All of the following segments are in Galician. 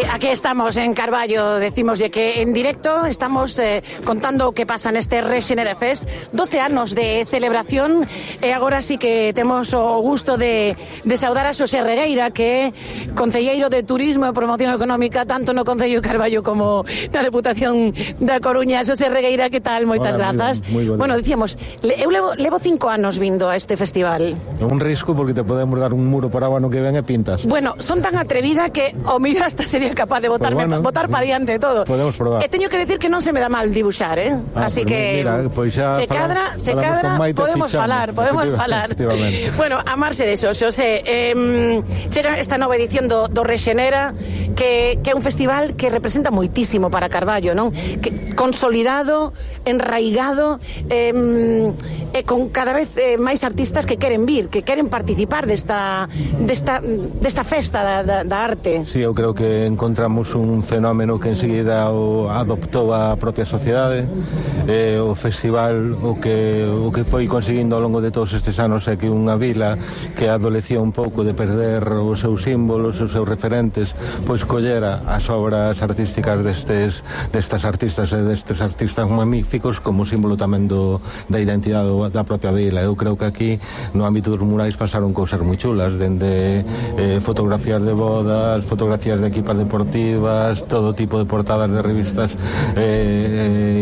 Aquí estamos en Carballo, decimos que en directo estamos contando o que pasa neste Rexenera Fest, 12 anos de celebración, e agora sí que temos o gusto de saudar a Xosé Regueira, que é concelleiro de Turismo e Promoción Económica tanto no Concello de Carballo como na Deputación da Coruña. Xosé Regueira, que tal? Moitas grazas. Muy bueno, dicíamos, eu levo 5 anos vindo a este festival. É un risco porque te podemos dar un muro para o ano que ven e pintas. Bueno, son tan atrevida que o mellor hasta sería capaz de botar para diante todo. Podemos probar. E teño que decir que non se me dá mal dibuxar, así que mira, pues se cadra, podemos falar. Bueno, amarse de eso, Xosé. Chega esta nova edición do Rexenera, que é un festival que representa moitísimo para Carballo, non? Que consolidado, enraigado, e con cada vez máis artistas que queren vir, que queren participar desta festa da arte. Sí, eu creo que encontramos un fenómeno que enseguida adoptou a propia sociedade. O festival o que foi conseguindo ao longo de todos estes anos é que unha vila que adolecía un pouco de perder os seus símbolos, os seus referentes, pois collera as obras artísticas destas artistas e destes artistas magníficos como símbolo tamén da identidade da propia vila. Eu creo que aquí no ámbito dos murais pasaron cousas moi chulas, dende fotografías de bodas, fotografías de equipas deportivas, todo tipo de portadas de revistas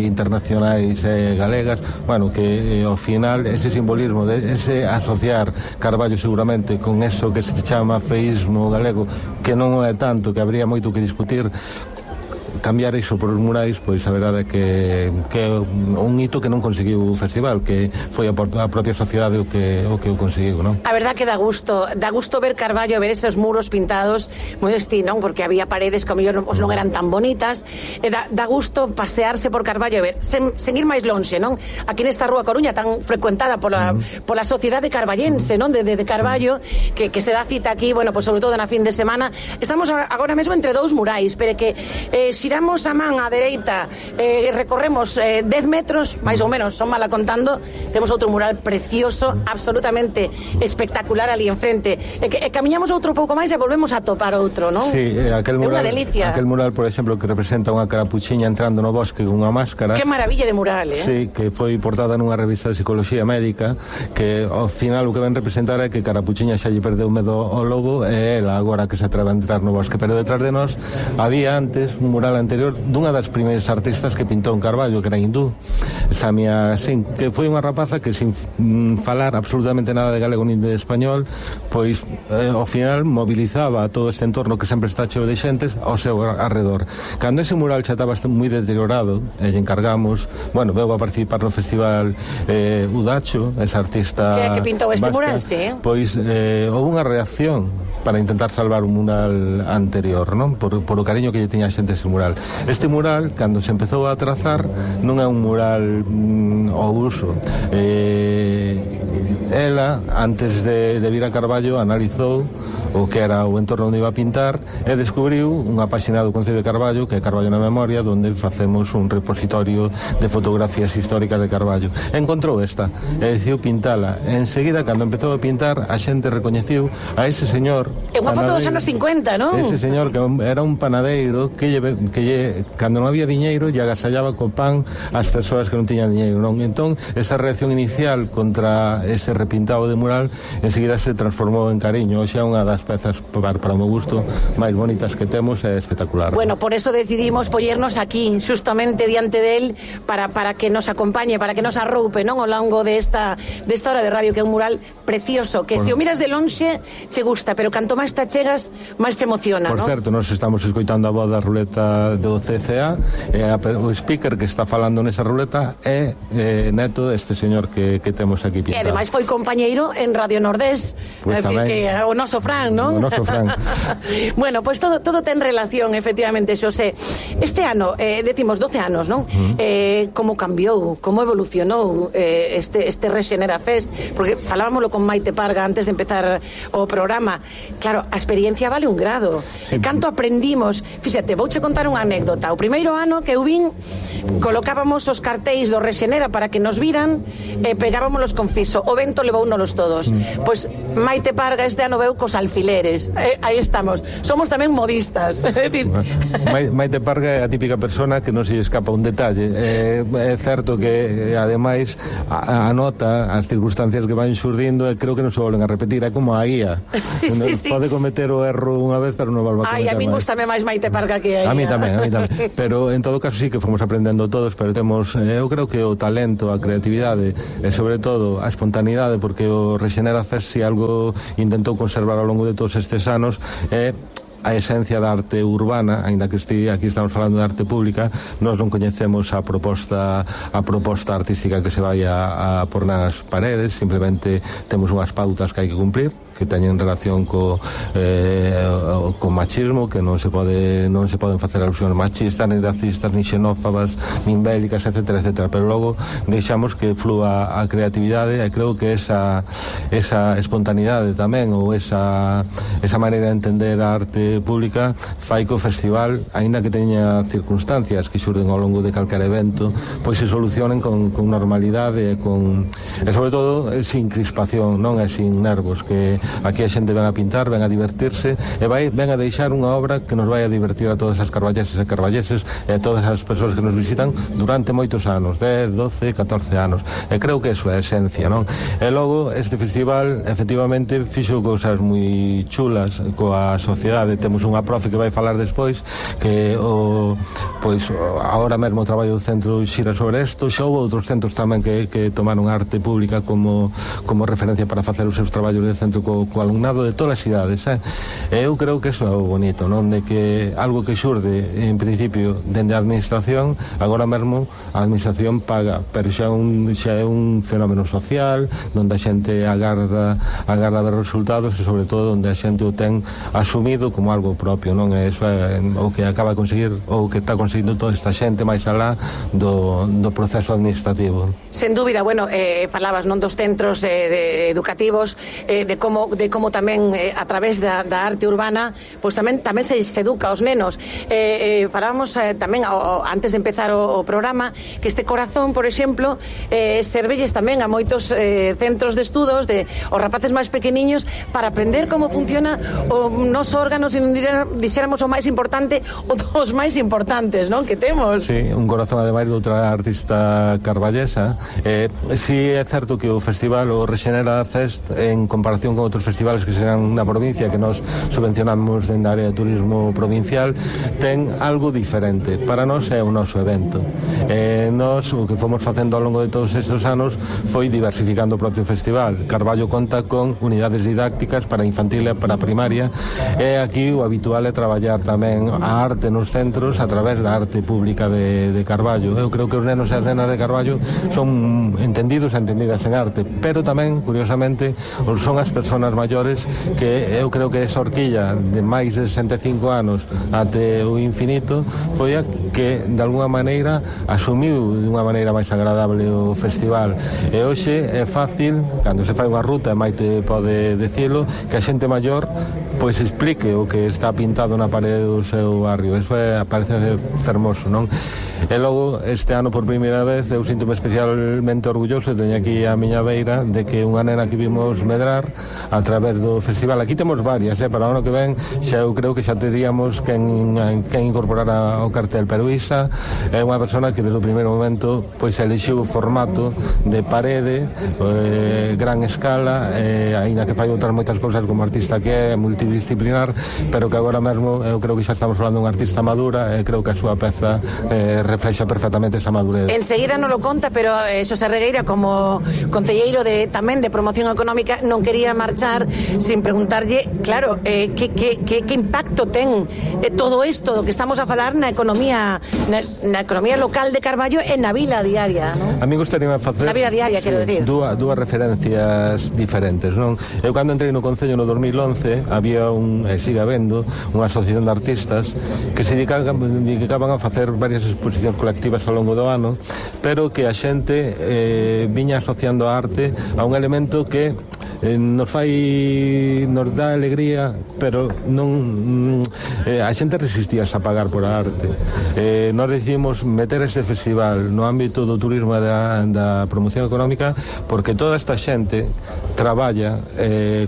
internacionais e galegas. Bueno, que ao final ese simbolismo, ese asociar Carballo seguramente con eso que se chama feísmo galego, que non é tanto, que habría moito que discutir, cambiar iso por os murais, pois a verdade é que é un hito que non conseguiu o festival, que foi a propia sociedade o que o conseguiu, non? A verdade que dá gusto ver Carballo, ver esos muros pintados moi non? Porque había paredes que ao mellor non eran tan bonitas, e dá gusto pasearse por Carballo e ver, sen ir máis lonxe, non? Aquí nesta rúa Coruña tan frecuentada pola sociedade carballense, non? De Carballo, que se dá cita aquí, bueno, pues sobre todo na fin de semana. Estamos agora mesmo entre dous murais, pero que xiramos a man á dereita, recorremos 10 metros, máis ou menos, son mala contando, temos outro mural precioso, absolutamente espectacular ali enfrente, e camiñamos outro pouco máis e volvemos a topar outro, non? Sí, aquel mural, é unha delicia. Aquel mural, por exemplo, que representa unha carapuchiña entrando no bosque con unha máscara. Que maravilla de mural, Sí, que foi portada nunha revista de psicología médica, que ao final o que ven representar é que Carapuchiña xa lle perdeu medo ao lobo, e ela agora que se atreve a entrar no bosque. Pero detrás de nós había antes un mural anterior dunha das primeiras artistas que pintou en Carballo, que era hindú, Samia Singh, que foi unha rapaza que sin falar absolutamente nada de galego nin de español, pois ao final mobilizaba a todo este entorno que sempre está cheo de xentes ao seu arredor. Cando ese mural xa estaba moi deteriorado, e lle encargamos, bueno, veu a participar no festival Udacho, esa artista que pintou este vasca, mural, sí. Pois houve unha reacción para intentar salvar un mural anterior, non? Por o cariño que lle tiña a xente ese mural. Este mural, cando se empezou a trazar, non é un mural ao uso. Ela, antes de vir a Carballo, analizou o que era o entorno onde iba a pintar e descubriu unha páxina do Concello de Carballo, que é Carballo na Memoria, onde facemos un repositorio de fotografías históricas de Carballo. Encontrou esta e decidiu pintala. Enseguida, cando empezou a pintar, a xente recoñeciu a ese señor. É unha foto dos anos 50, non? Ese señor que era un panadeiro que cando non había diñeiro lle agasallaba co pan ás persoas que non tiñan diñeiro, non? Entón, esa reacción inicial contra ese repintado de mural enseguida se transformou en cariño. Hoxe é unha das pezas para o meu gusto máis bonitas que temos, é espectacular. Bueno, por eso decidimos pollernos aquí, justamente diante del, para que nos acompañe, para que nos arroupe, non? Ao longo desta hora de radio, que é un mural precioso, que se o miras de lonxe che gusta, pero canto máis te chegas, máis te emociona, Por non? certo, nos estamos escoitando a voz da ruleta do CCA, e o speaker que está falando nesa ruleta é neto deste señor que temos aquí pintado. E ademais foi compañeiro en Radio Nordés, pues que o noso Fran, non? O noso Fran. Bueno, pues todo ten relación, efectivamente, Xosé. Este ano, decimos 12 anos, non? Como cambiou, como evolucionou este Rexenera Fest, porque falábamoslo con Maite Parga antes de empezar o programa. Claro, a experiencia vale un grado. Sí. Canto aprendimos. Fíxate, vouche contar unha anécdota. O primeiro ano que eu vin, colocábamos os cartéis do Rexenera para que nos viran e pegábamos los con fiso. O vento levounos todos. Pois Maite Parga este ano veu cos alfileres. Aí estamos. Somos tamén modistas. Maite Parga é a típica persona que non se escapa un detalle. É certo que, ademais, anota as circunstancias que van xurdindo e creo que non se volven a repetir. É como a guía. Sí. Pode cometer o erro unha vez, pero non volve a cometer a mí gustame máis Maite Parga que a guía. A mí tamén. Pero, en todo caso, sí que fomos aprendendo todos, pero temos, eu creo que o talento, a creatividade e, sobre todo, a espontaneidade, porque o Rexenera Fest, si algo intentou conservar ao longo de todos estes anos, é a esencia da arte urbana, aínda que aquí estamos falando de arte pública. Nós non coñecemos a proposta artística que se vai a por nas paredes, simplemente temos unhas pautas que hai que cumprir, que teñen relación co machismo, que non se poden facer alusións machistas, ni racistas, ni xenófobas, ni bélicas, etcétera, pero logo deixamos que flúa a creatividade, e creo que esa espontaneidade tamén, ou esa maneira de entender a arte pública, fai que o festival, aínda que teña circunstancias que xurden ao longo de calquer evento, pois se solucionen con normalidade e sobre todo sin crispación, non é sin nervos, que aquí a xente ven a pintar, ven a divertirse e ven a deixar unha obra que nos vai a divertir a todas as carballeses e carballeses e a todas as persoas que nos visitan durante moitos anos, 10, 12, 14 anos, e creo que eso é a esencia, non? E logo este festival efectivamente fixo cousas moi chulas coa sociedade. Temos unha profe que vai falar despois, que agora mesmo o traballo do centro xira sobre isto. Xa houve outros centros tamén que tomaron arte pública como referencia para facer os seus traballos de centro co alumnado de todas as idades, eu creo que eso é o bonito, non? De que algo que xurde en principio dende a administración, agora mesmo a administración paga, pero xa é un fenómeno social onde a xente agarda ver resultados e sobre todo onde a xente o ten asumido como algo propio, non? Eso é o que acaba de conseguir, ou que está conseguindo toda esta xente máis alá do proceso administrativo. Sen dúbida, bueno, falabas non dos centros educativos, de como tamén a través da arte urbana, pois tamén se educa aos nenos. Falábamos tamén antes de empezar o programa que este corazón, por exemplo, servelles tamén a moitos centros de estudos os rapaces máis pequeniños para aprender como funciona o noso órgano, se non dixéramos o máis importante, o dos máis importantes, non? Que temos. Sí, un corazón ademais de outra artista carballesa. Si é certo que o festival, o Rexenera Fest, en comparación con outros festivales que serán na provincia, que nós subvencionamos dentro da área de turismo provincial, ten algo diferente. Para nós é o noso evento. Nós, o que fomos facendo ao longo de todos estes anos foi diversificando o propio festival. Carballo conta con unidades didácticas para infantil e para primaria, e aquí o habitual é traballar tamén a arte nos centros a través da arte pública de Carballo. Eu creo que os nenos e as nenas de Carballo son entendidos e entendidas en arte, pero tamén, curiosamente, son as persoas maiores que eu creo que esa horquilla de máis de 65 anos até o infinito foi a que de alguna maneira asumiu de unha maneira máis agradable o festival. E hoxe é fácil, cando se fai unha ruta, Maite pode dicilo, que a xente maior pois explique o que está pintado na parede do seu barrio. Eso parece fermoso, non? E logo, este ano por primeira vez, eu sinto-me especialmente orgulloso, teño aquí a miña beira, de que unha nena que vimos medrar a través do festival. Aquí temos varias, para o ano que ven xa eu creo que xa teríamos quen incorporar ao cartel, pero Isa é unha persona que desde o primeiro momento pois elixiu o formato de parede, gran escala, aínda que fai outras moitas cousas como artista que é multidisciplinar, pero que agora mesmo eu creo que xa estamos falando de unha artista madura e creo que a súa peza reflexa perfectamente esa madurez. Enseguida non lo conta, pero Xosé Regueira, como concelleiro tamén de promoción económica, non quería marchar sin preguntarlle, claro, que impacto ten todo isto do que estamos a falar na economía local de Carballo e na vila diaria, non? A mí gustaría facer na vida diaria, quero decir, dúas referencias diferentes, non? Eu cando entrei no Concello no 2011 había sigue habendo unha asociación de artistas que se dedicaban a facer varias exposicións colectivas ao longo do ano, pero que a xente viña asociando a arte a un elemento que nos dá alegría, pero non a xente resistíase a pagar por a arte. Nós decidimos meter este festival no ámbito do turismo e da promoción económica porque toda esta xente traballa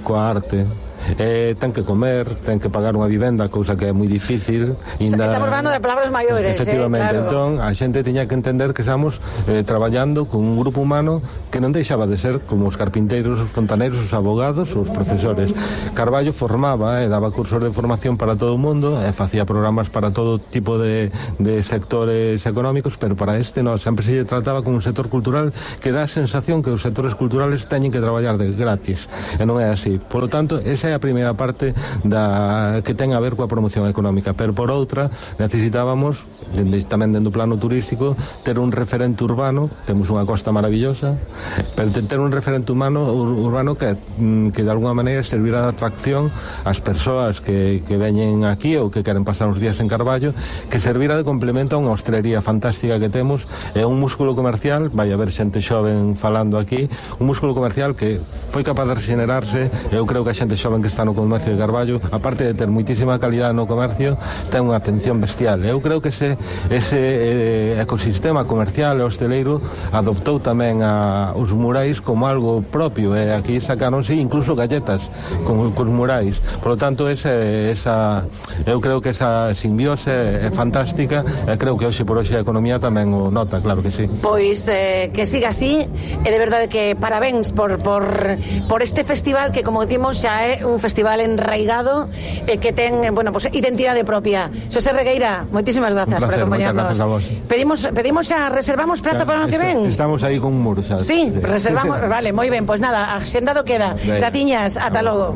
coa arte. Ten que comer, ten que pagar unha vivenda, cousa que é moi difícil. Estamos falando de palabras maiores, efectivamente, claro. Entón a xente tiña que entender que estamos traballando con un grupo humano que non deixaba de ser como os carpinteiros, os fontaneiros, os abogados, os profesores. Carballo formaba e daba cursos de formación para todo o mundo e facía programas para todo tipo de sectores económicos, pero para este non, sempre se trataba con un sector cultural que dá a sensación que os sectores culturales teñen que traballar de gratis, e non é así. Por lo tanto, esa é a primeira parte que ten a ver coa promoción económica, pero por outra necesitábamos tamén dentro do plano turístico ter un referente urbano. Temos unha costa maravillosa, pero ter un referente urbano que de alguna maneira servirá de atracción ás persoas que veñen aquí ou que queren pasar uns días en Carballo, que servirá de complemento a unha hostelería fantástica que temos, é un músculo comercial, vai haber xente xoven falando aquí, un músculo comercial que foi capaz de regenerarse. Eu creo que a xente xoven que está no comercio de Carballo, aparte de ter moitísima calidad no comercio, ten unha atención bestial. Eu creo que ese ecosistema comercial e hosteleiro adoptou tamén os murais como algo propio, e aquí sacáronse incluso galletas con murais. Por lo tanto, eu creo que esa simbiose é fantástica, e creo que hoxe por hoxe a economía tamén o nota, claro que sí. Pois que siga así, e de verdade que parabéns por este festival que, como decimos, xa é un festival enraigado e que ten, pues, identidade propia. Xosé Regueira, moitísimas grazas por acompañarnos. Pedimos xa, reservamos praza para o ano que ven. Estamos aí con un muro xa. Sí, reservamos, vale, moi ben, pois nada, axendado queda. Gratiñas, ata logo.